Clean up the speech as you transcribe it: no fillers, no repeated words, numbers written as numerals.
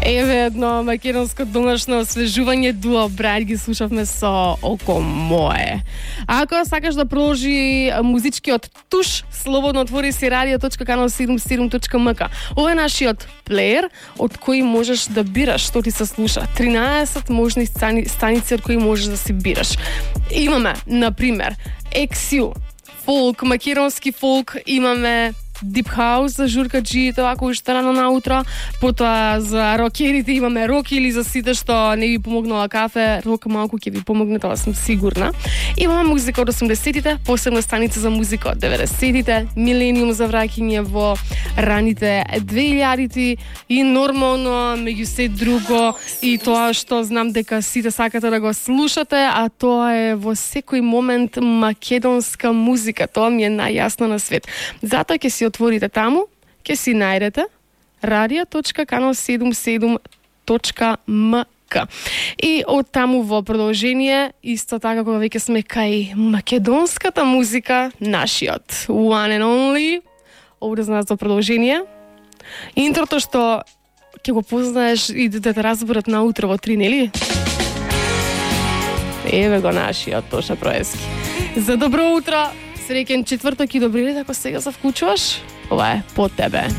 Еве едно македонско домашно освежување Дуо Брайт ги слушавме со Око мое. Ако сакаш да продолжи музичкиот туш, слободно отвори си radio.kanal77.mk. Ова е нашиот плеер од кој можеш да бираш што ти се слуша. 13 можни станици од кои можеш да си бираш. Имаме, например, XU, фолк, македонски фолк, имаме Deep House за журкаджиите, ако уште рано наутро, потоа за рокерите имаме рок или за сите што не ви помогнала кафе, рок малку ќе ви помогне, тоа сум сигурна. Имаме музика од 80-тите, посебна станица за музика од 90-тите, милениум за враќање во раните 2000-ти и нормално меѓу се друго и тоа што знам дека сите сакате да го слушате, а тоа е во секој момент македонска музика, тоа ми е најјасно на свет. Затоа ќе си отворите таму, ќе си најдете radio.kanal77.mk. И од таму во продолжение, исто така кога веќе сме кај македонската музика, нашиот one and only, овде знаат за продолжение, интрото што ќе го познаеш и да те разберат наутро во 3, нели? Еве го нашиот Тоша Проески. За добро утро! Среќен четврток и добри лет, ако сега се вклучуваш, ова е по тебе.